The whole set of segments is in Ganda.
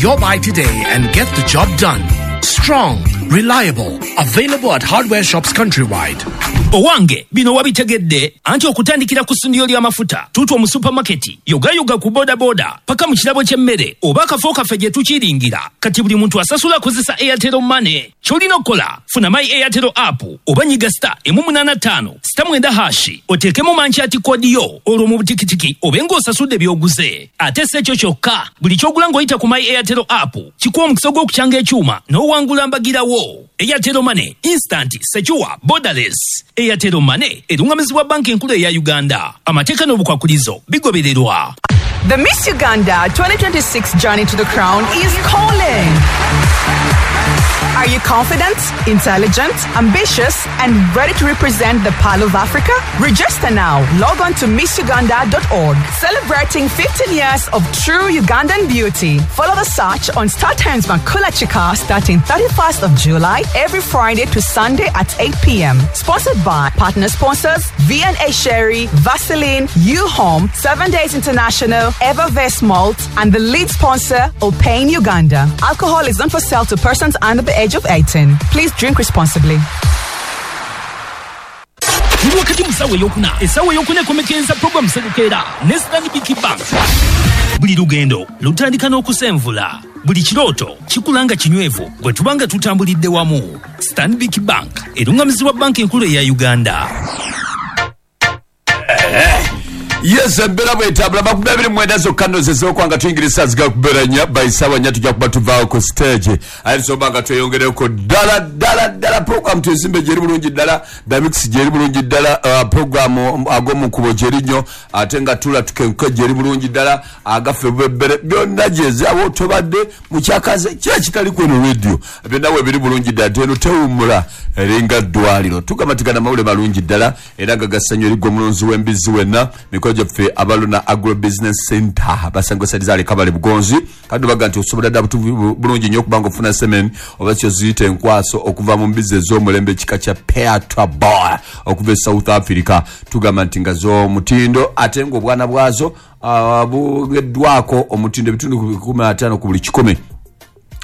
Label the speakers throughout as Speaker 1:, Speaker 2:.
Speaker 1: your buy today and get the job done. Strong, reliable, available at hardware shops countrywide.
Speaker 2: Owange, bino wabitegedde anti okutandikira ku ssundiro ly'amafuta, tuutwa mu supamaketi, yogayoga ku bodaboda, paka mu kirabo ky'emmere oba akafo kaffe gye tukiringira. Kati buli muntu asasula akozesa Airtel Money. Ky'olina okukola, funa My Airtel app oba nyiga *185*9# oteekemu merchant code yo, olwo mu butikitiki obe ng'osasudde by'oguze. Ate si ekyo kyokka, buli ky'ogula ng'oyita ku My Airtel app kikuwa omukisa gw'okukyanga ekyuma n'owangula mbagirawo. Airtel Money, instant, secure, borderless. Airtel Money erungamizibwa Banka Enkulu eya Uganda. Amateeka n'obukwakulizo bigobererwa.
Speaker 3: The Miss Uganda 2026 Journey to the Crown is calling. Are you confident, intelligent, ambitious, and ready to represent the Pearl of Africa? Register now. Log on to missuganda.org. Celebrating 15 years of true Ugandan beauty. Follow the search on StarTimes Makula Chika starting 31st of July, every Friday to Sunday at 8 p.m. Sponsored by partner sponsors V&A Sherry, Vaseline, U-Home, 7 Days International, Evervest Malt, and the lead sponsor, Opane Uganda. Alcohol is not for sale to persons under the age of 18. Please drink responsibly.
Speaker 2: Tuli wakati mu ssaawa eyokuna. Essaawa eyokuna ekomekereza programu Sebukeera ne Stanbic Bank. Buli lugendo lutandika n'okusenvula. Buli kirooto kikula nga kinywevu bwe tuba nga tutambulidde wamu. Stanbic Bank erungamizibwa Banka Enkulu eya Uganda.
Speaker 4: Yes, embeera bwetambula 29 zokka nno zezookuba nga tuyingira essaawa zigakubeera 4, by ssaawa 4 tujja kuba tuvaawo ku stage. Aye tusobola nga tweyongereko ddala ddala ddala. Program tuzimbe gyeri bulungi ddala, the mix gyeri bulungi ddala, program ag'omukubo gyeri nnyo, ate nga tula tukenke gyeri bulungi ddala, agaffe bwebbere byonna gyezi abo tobadde mu kyakaze kira kitali kweno radio byonna we biri bulungi ddala, teno tewummula eringa ddwaliro. Tugamatigana mawule malungi ddala era nga gassanyu erigwa omulunzi w'embizzi wenna. Mikono gyaffe abaluna Agro Business Center basanga saliza kabale bugonzi kandi baga nti osobola dda bulungi nnyo okubanga ofuna semen oba kyo ziyite enkwaso okuva mu mbizzi ez'omulembe ekika kya Petra Boy okuva e South Africa. Tugamba nti nga z'omutindo ate ng'obwana bwazo bugeddwako omutindo ebitundu 15 ku buli 100.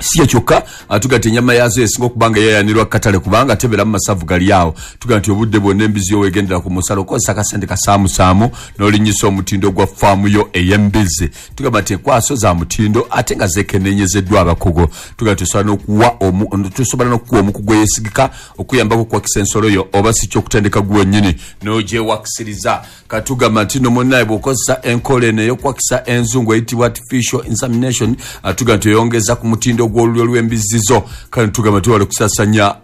Speaker 4: Si kyokka, tuga nti ennyama yaazo esinga okuba nga yeeyanirwa katale kubanga tebeera mu masavu gali awo. Tuga nti obudde bwonna embizi yo weegendera ku musalo okozesa akasente kasaamusaamu n'olinnyisa omutindo gwa faamu yo ey'embizzi. Tugamba nti enkwaso za mutindo ate nga zeekenneenyezeddwa abakugu. Tuga nti tusobola n'okuwa omukugu eyeesigika okuyambako okuwakisa ensolo yo oba si kyokutendeka gwe wennyini n'ogyewakisiriza. Katugamba nti nno munnaye bw'okozesa enkola eno ey'okuwakisa enzungu eyitibwa artificial insemination, tuga nti oyongeza ku mutindo gw'olulyo lw'embizzi zo. Kale tugamba twewale okusaasaanya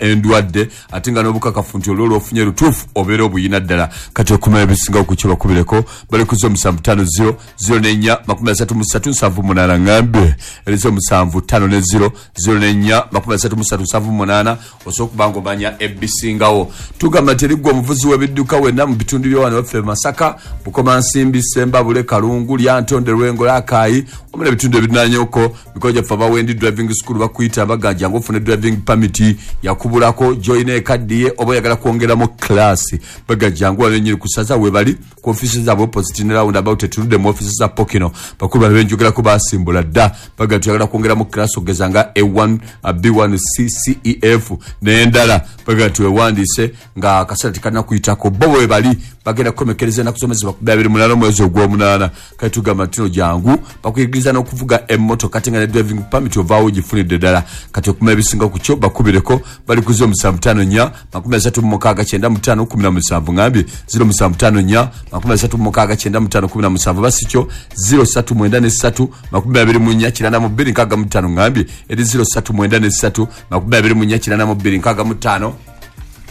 Speaker 4: endwadde ate nga n'obukakafu nti olwo lw'ofunye lutuufu obeera obuyina ddala. Kati okumanya ebisingawo ku kyo bakubireko bali ku 0750 04 33 78 ŋŋambe eri 0750 04 33 78 osobola okuba ng'omanya ebisingawo. Tugamba nti eriggwa omuvuzi w'ebidduka wenna mu bitundu by'awano waffe Masaka, Bukomansimbi, Sembabule, Kalungu, Lyantonde, Lwengo, Lakaayi wamu n'ebitundu ebirinaanyeko. Mikono gyaffe abawendi driving school bakuyita baganja ng'ofuna driving permit yakubulako join ekaddiye oba oyagala kwongeramu class, baganja ngu wano ennyini kusaza we bali ku office zaabwe opposite ne round about etuludde mu office za Pokino. Bakulu bano benjogerako basimbula dda, baga tuyagala kwongeramu class okugeza nga A1, B1, C, C, E, F n'endala. Baga twewandiise nga akaseera tekanakuyitako. Bo bwe bali bagenda kukomekereza ennaku z'omwezi 28 omwezi ogw'omunaana. Kale tugamba nti no jangu bakuyigiriza n'okuvuga emmotoka ate nga ne driving permit ovaawo ogifunidde ddala. Kati okumanya ebisinga ku kyo bakubireko bali ku 0754 36 95 17 ŋŋambye 0754 36 95 17 basi kyo 0393 24 92 65 ŋŋambye eri 0393 24 92 65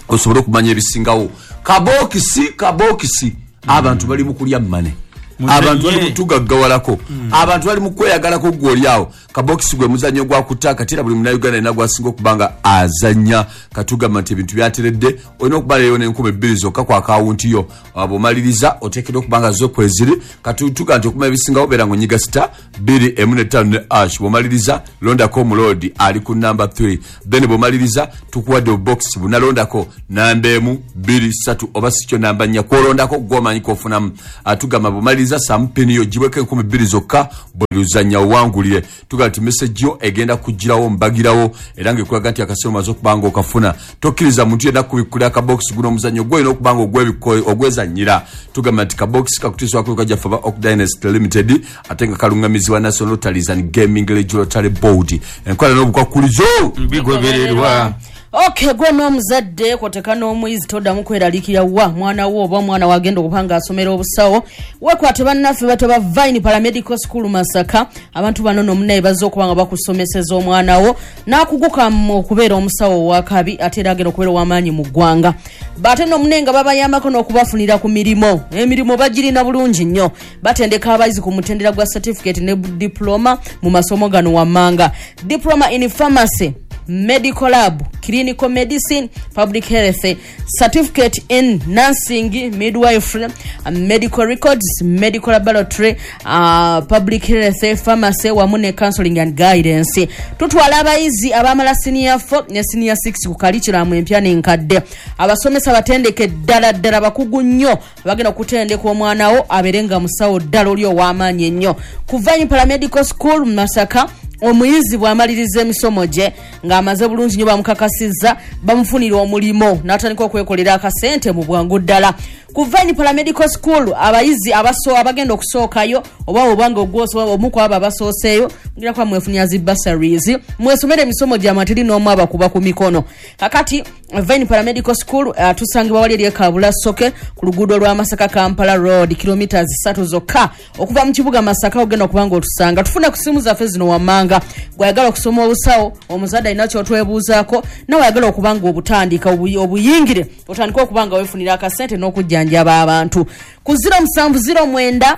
Speaker 4: osobola okumanya ebisingawo. Kabokisi abantu bali mu kulya mmane, abantu bali mutugaggawalako, abantu bali mu kweyagalako gwe oli awo. Kabokisi gwe muzannyo gwa kuta kati era buli Munnayuganda yenna gwasinga okuba nga azannya. Katugamba nti ebintu byateredde, olina okubalayo n'enkumi 2 zokka ku akawunti yo. Bw'omaliriza oteekeddwa okuba nga zo kweziri. Katutuga nti okumanya ebisingawo beera ng'onyiga *2 1 5 ne ash. Bw'omaliriza londako omuloodi ali ku namba 3, then bw'omaliriza tukuwadde obubokisi bunalondako namba 1, 2, 3 oba si kyo namba 4 kwolondako gw'omanyi k'ofunamu. Tugamba bw'omaliriza Ekitegeeza saamu pini yo gibweko 2000 zokka, buli luzannya owangulire. Tugamba nti message yo egenda kugirawo mbagirawo, era ng'ekulaga nti akaseera omaze okuba nga okafuna. Tokkiriza muntu yenna kubikkulira akabokisi guno omuzannyo gw'olina okuba nga ogwezannyira. Tugamba nti kabokisi kakutiisibwako kajjaffe aba Oak Dynasty Limited, ate nga kaluŋŋamizibwa National Lotteries and Gaming Regulatory Board. Enkola n'obukwakulizo
Speaker 5: bigobererwa.
Speaker 6: Okay, gwe n'omuzadde kwoteka n'omuyizi toddamu kweraliikirira wa mwana wo oba omwana wagenda okuba nga asomera obusawo. Weekwate bannaffe bato ba Vine Paramedical School Masaka. Abantu bano n'omunaye bazze okuba nga bakusomeseza omwana wo n'akuguka mu okubeera omusawo ow'akabi, ate era agenda okubeera ow'amaanyi mu ggwanga. Ate n'omunaye nga babayambako n'okubafunira ku mirimu. Emirimu bagirina bulungi nnyo. Batendeka abayizi ku mutendera gwa certificate ne diploma mu masomo gano wammanga: diploma in pharmacy, medical lab, clinical medicine, public health, certificate in nursing, midwifery, medical records, medical laboratory, public health, pharmacy wamu ne counseling and guidance. Tutwala abayizi abamala senior 4 ne senior 6 ku curriculum empya n'enkadde. Abasomesa batendeke ddala ddala, bakugu nnyo, bagenda okutendeka omwana wo abeere nga musawo ddala oli ow'amaanyi ennyo. Ku Vine Paramedical School Masaka, omuyizi bw'amaliriza emisomo gye ng'amaze bulungi nnyo, bamukakasizza, bamufunira omulimu n'atandika okwekolera akasente mu bwangu ddala. Ku Vine Paramedical School, abayizi abaso abagenda okusookayo oba obanga omu ku abo abasooseeyo, mugira kuba mwefunira zi bursaries, mwesomere emisomo gyammwe, teri n'omu abakuba ku mikono. Kakati Vine Paramedical School tusangibwa wali eri e Kabulasoke ku luguudo lwa Masaka Kampala Road, kilometers 3 zokka okuva mu kibuga Masaka. Ogenda okuba nga otusanga. Tufune ku simu zaffe zino wammanga: gwayagala okusoma obusawo, omuzadde alina kyotwebuuzaako, nawe ayagala okuba nga obutandika obuyingire, otandike okuba nga weefunira akasente n'okujjanjaba abantu, ku 0709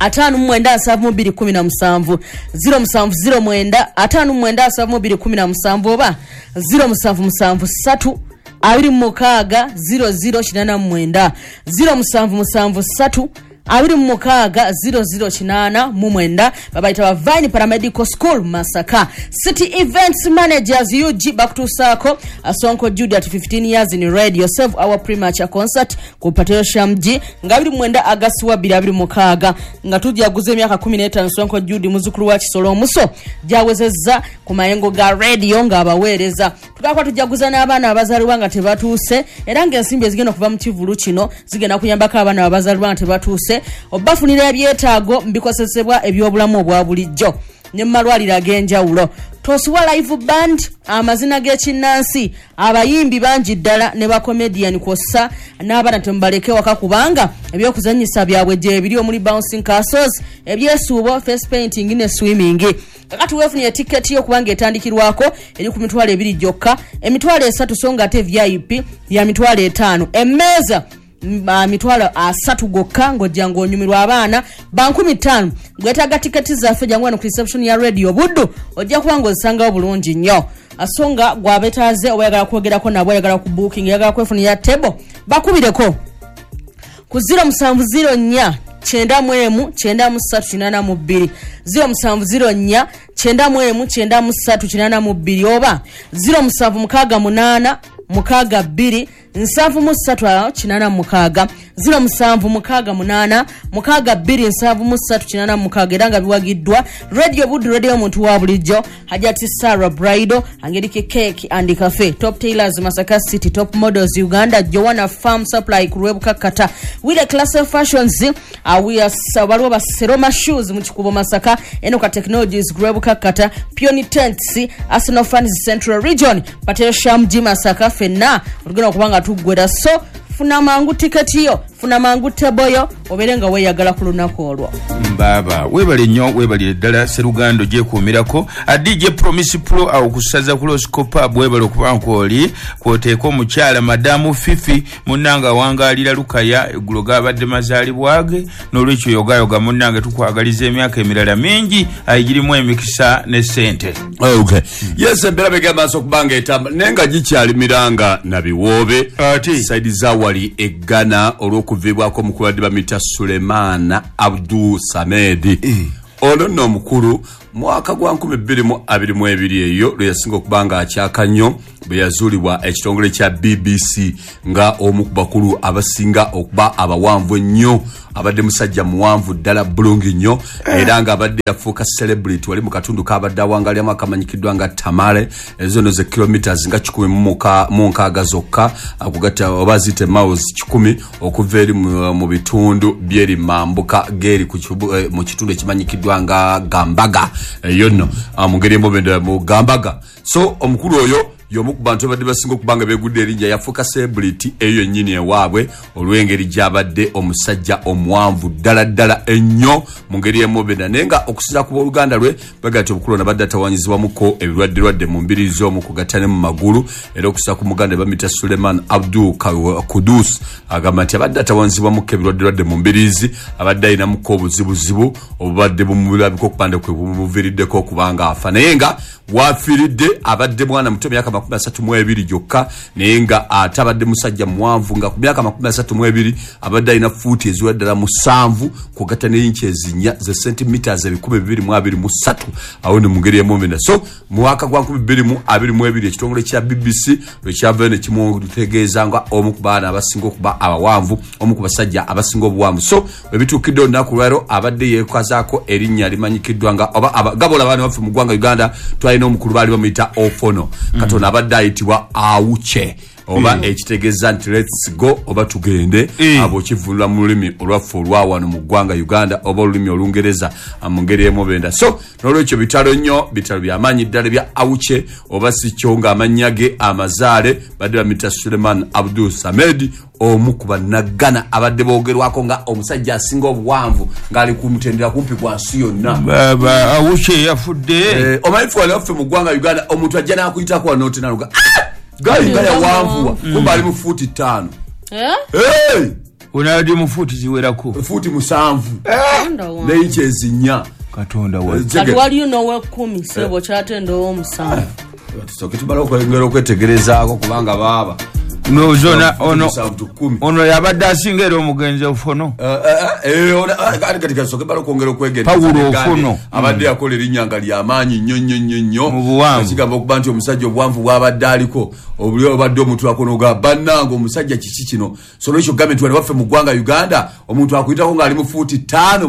Speaker 6: 59 72 17, 0709 59 72 17 oba 0773 26 00 89, 0773 26 00 89. Babayita ba Vine Paramedical School Masaka. City Events Managers UG bakutuusaako Sonko Jude at 15 years in radio, Save Our Premature concert ku Pateo Shamji nga 29 Agasti wa 2026, nga tujaguza emyaka 15 Sonko Jude, muzukulu wa Kisolo Omuso, gyawezezza ku mayengo ga radio ng'abaweereza. Tugakuba tujaguza n'abaana abazaalibwa nga tebatuuse, era ng'ensimbi ezigenda okuva mu kivulu kino zigenda kuyambako abaana abazaalibwa nga tebatuuse, obafunira ebyetaago bikozesebwa ebyobulamu obwa bulijjo ne mu malwaliro ag'enjawulo. Tosubwa live band, amazina g'ekinnansi, abayimbi bangi ddala ne bacomedian, kwossa n'abaana temubaleke waka kubanga ebyokuzannyisa byabwe gyebiri, omuli bouncing castles, ebyesuubo, face painting ne swimming. Kakati weefunire tiketi yo kubanga etandikirwako eri ku 20,000 gyokka, 30,000, so nga ate VIP ya 50,000. Emmeeza 30,000 gokka, ng'ojja ng'onyumirwa. Abaana ba 5,000. Gwetaaga tiketi zaffe, jangu wano ku reception ya Radio Buddu, ojja kuba ng'ozisangawo bulungi nnyo. So nga gwabetaaze oba oyagala kwogerako nabo, oyagala ku booking, oyagala kwefunira table, bakubireko ku 0704 91 93 82, 0704 91 93 82 oba 0768 62 73 86, 0768 62 73 86. Era nga biwagiddwa Radio Buddu, radio omuntu wa bulijjo, Hajati Sarah Brido, Angelike Cake and Cafe, Top Tailors Masaka City, Top Models Uganda, Joanna Farm Supply ku Lwebukakata, Wile Class Fashions, we are waliwo Baseroma Shoes mu Kikubo Masaka, Enoka Technologies ku Lwebukakata, Peony Tents, Arsenal Fans Central Region, Pateo Shamji Masaka. Ffenna olugenda okuba nga tuggwera, so funa mangu tiketi yo, funa mangu table yo, obeere nga weeyagala ku lunaku olwo.
Speaker 5: Mbaaba weebale nnyo, weebalire ddala Serugando gyekuumirako. DJ Promise Pro awo kusaza ku Loscopa, weebale okuba nkwoli kwoteeka omukyala Madamu Fifi munnange awangaalira Lukaya. Eggulo gabadde mazaalibwa ge, n'olwekyo yogayoga munnange, tukwagaliza emyaka emirala mingi ayigirimu emikisa ne ssente.
Speaker 4: Okay. Yes, embeera begenda maaso okuba nga etambula, naye nga gikyali miranga na biwoobe
Speaker 5: Ate.
Speaker 4: Saidi zawali eggana olw'okuviibwako omukulu badde bamuyita Sulemana Abdu Samedi. Ono nno omukulu. Mwaka gwa 2022 eyo lwe yasinga okuba nga akyaka nnyo bwe yazuulibwa ekitongole kya BBC nga omu ku bakulu abasinga okuba abawanvu ennyo. Abadde musajja muwanvu ddala bulungi nnyo, era nga abadde yafuuka celebrity wali mu katundu kabadde awangalyamu akamanyikiddwa nga Tamale. Ezo no ze kilometers nga 160 zokka akugatta oba ziyite miles 100 okuva eri mu bitundu byeri mambuka geri mu kitundu ekimanyikiddwa nga Gambaga. Eyo nno mu ngeri emu mu Gambaga. So omukulu oyo y'omu ku bantu abadde basinga okuba nga beegudde erinnya, yafuuka celebrity eyo yennyini ewaabwe olw'engeri gy'abadde omusajja omuwanvu ddala ddala ennyo mu ngeri emubenda. Naye nga okusinziira ku booluganda lwe baga nti omukulu ono abadde atawanyizibwamuko ebirwadderwadde mu mbiri z'omu kugatta ne mu magulu. Era okusinziira ku muganda bamuyita Suleiman Abdul Kudus agamba nti abadde atawanyizibwamuko ebirwadderwadde mu mbiriizi, abadde alinamuko obuzibuzibu obubadde bumulabika okupanda kwe bumuviiriddeko okubanga afa. Naye nga wafiiridde abadde mwana muto myaka 32 gyokka, naye nga ate abadde musajja muwanvu nga ku myaka 32 abadde alina fuuti eziwera ddala 7 kugatta ne inchi ezinya ze centimeters 223 awo ne mu ngeri emomena. So mu mwaka gwa 2022 ekitongole kya BBC lwe kyavayo ne kimutegeeza nga omu ku baana abasinga okuba abawanvu, omu ku basajja abasinga obuwanvu. So bwe bituukidde olunaku lwaleero abadde yeekazaako erinnya limanyikiddwa nga oba gabola abaana baffe mu ggwanga Uganda twalina omukulu baali bamuyita Ofono, katono abadde ayitibwa Awuche oba ekitegeeza nti let's go oba tugende, abo kivunula mu lulimi olwaffe olwa wano mu ggwanga Uganda oba olulimi olungereza mu ngeri emubenda. So n'olwekyo bitalo nnyo, bitalo byamaanyi ddala bya Awuche oba si kyo ng'amannya ge amazaale badde bamuyita Suleiman Abdul Samed, omu ku bannagana abadde boogerwako nga omusajja asinga obuwanvu ng'ali ku mutendera kumpi gwa nsi yonna.
Speaker 5: Baba Awuche yafudde.
Speaker 4: Omanyi ffe wano waffe mu ggwanga Uganda omuntu ajja n'akuyitako wano n'otenaluga gali nga yawanvuwa kumbe ali mu fuuti 5.
Speaker 5: Ono ali mu fuuti ziwerako
Speaker 4: fuuti 7 ne inchi ezinya.
Speaker 5: Katonda wa
Speaker 6: kati waliyo n'owekumi sebo kyatenda ow'omusanvu.
Speaker 4: Tusooke tumale okwongera okwetegerezaako kubanga baaba
Speaker 5: nozona ono yabadde asinga era omugenzi Ofono.
Speaker 4: Kati bala okwongera okwegendereza
Speaker 5: Pawulo Ofono
Speaker 4: abadde yakola erinnya nga lyamaanyi nnyo nnyo nnyo nnyo
Speaker 5: mu buwanvu.
Speaker 4: Kigamba okuba nti omusajja obuwanvu bw'abadde aliko obuli obadde omutwako n'ogamba bannange omusajja kiki kino. So n'ekyo gambe nti wano waffe mu ggwanga Uganda omuntu akuyitako ng'ali mu fuuti 5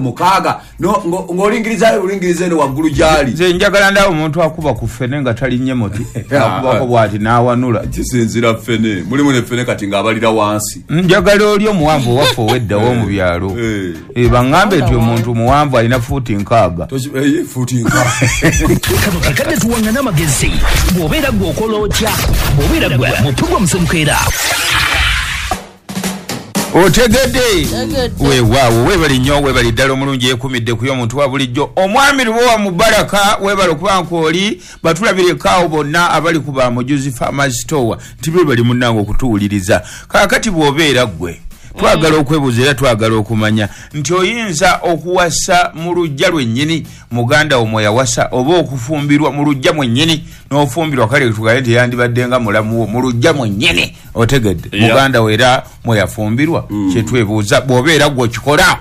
Speaker 4: 6 ng'olingirizayo bulingiriza eno waggulu gy'ali.
Speaker 5: Nze njagala ndaba omuntu akuba ku ffene nga talinnye muti akubako bw'ati n'awanula.
Speaker 4: Kisinziira ffene mulimu ne ffene kati ng'abalira wansi.
Speaker 5: Njagala oli omuwanvu owaffe ow'eddawo mu byalo. Baŋŋambe nti omuntu muwanvu alina fuuti 6.
Speaker 4: Fuuti 6.
Speaker 2: Kano kakadde tuwangana amagezi. Bw'obeera gwe okola otya? Bw'obeera gwe mu pulogulaamu Semukeera.
Speaker 5: Otegedde weewaawo, weebale nnyo, weebale ddala omulungi yeekumidde ku y'omuntu wa bulijjo. Omwami Lubowa Mubaraka weebale okuba nkwoli, batulabireko bonna abali ku ba Mujuzi Farmers Store nti beebali munnange okutuwuliriza. Kaakati bw'obeera ggwe twagala okwebuuza era twagala okumanya nti oyinza okuwasa mu luggya lwennyini muganda wo mwe yawasa oba okufumbirwa mu luggya mwennyini n'ofumbirwa, kale tugaye nti yandibadde nga mulamu wo mu luggya mwennyini, otegedde muganda wo era mwe yafumbirwa. Kyetwebuuza bw'obeera ggwe okikola,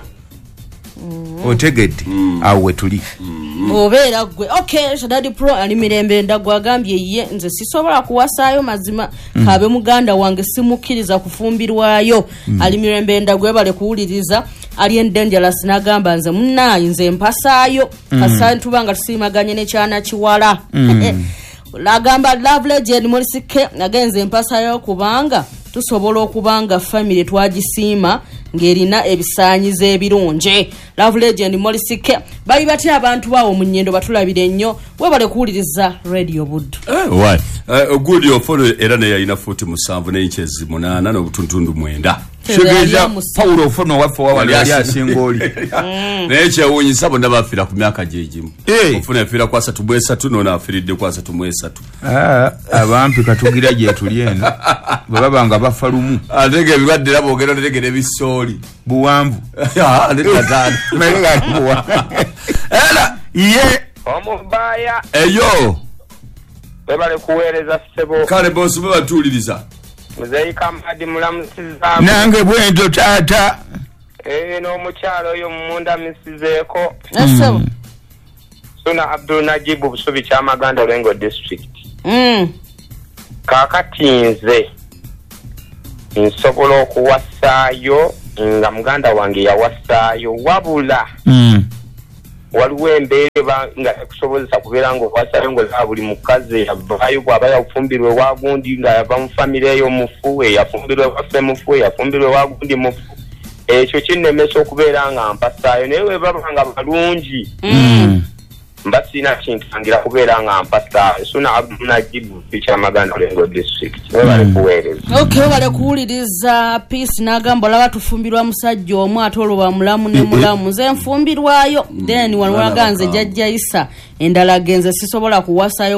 Speaker 5: otegedde awo we tuli.
Speaker 6: Bw'obeera ggwe. Okay, Shadadi Pro ali mirembe ndagwa agambye ye nze sisobola kuwasaayo mazima kabe muganda wange simukkiriza kufumbirwayo. Ali mirembe ndagwa bale kuwuliriza. Ali dangerous n'agamba nze munnaye nze mpasaayo kasantu banga tusiimaganye n'ekyana kiwala. Agamba Love Legend Morisike agenze mpasayo kubanga tusobola okubanga family twagisiima ng'erina ebisaanyizo ebirungi. Love Legend Morisike bali batya abantu bawo mu nnyendo batulabire nnyo, webale kuwuliriza Radio Buddu.
Speaker 4: Why Ogudi Ofono era naye alina fuuti 7 ne inches 8 n'obutuntundu 9.
Speaker 5: Kitegeeza Pawulo Ofono waffe wawali yali asinga oli.
Speaker 4: Naye kyewuunyisa bonna bafiira ku myaka gye gimu. Ofono yafiira ku 33 n'ono afiiridde ku 33.
Speaker 5: Abampi katugira gye tuli eno bwe baba nga bafa lumu.
Speaker 4: Ate ng'ebirwadde era boogera otegera ebisooli.
Speaker 5: Buwanvu.
Speaker 4: Era
Speaker 5: ye
Speaker 7: omubaya
Speaker 4: eyo
Speaker 7: webale kuweereza ssebo.
Speaker 4: Kale bosi bwe batuwuliriza.
Speaker 7: Muzeeyi Kamadi mulamusiza.
Speaker 5: Nange bwentyo taata.
Speaker 7: N'omukyalo oyo mumundamisizeeko.
Speaker 6: Ssebo.
Speaker 7: Suna Abdul Najibu Busubi Kyamaganda Lwengo District. Kaakati nze nsobola okuwasaayo nga muganda wange yawasaayo, wabula waliwo embeera eba nga tekusobozesa kubeera ng'owasaayo ng'olaba buli mukazi eyavaayo bw'aba yafumbirwa ewa gundi nga yava mu famire eyo mufu, eyafumbirwa ewaffe mufu, eyafumbirwa ewa gundi mufu. Ekyo kinnemesa okubeera nga mpasaayo, naye bwe baba nga balungi mba sirina kintangira kubeera nga mpasaayo. Suna Abdul Najibu Kyamaganda Lwengo District. Webale kuweereza.
Speaker 6: Okay, webale kuwuliriza. Peace n'agamba olaba tufumbirwa musajja omu ate olwo bamulamu ne mulamu, nze nfumbirwayo then wano
Speaker 8: Mwana
Speaker 6: walaga nze
Speaker 8: bakambwe.
Speaker 6: Jjajja Isa endala genze sisobola kuwasayo.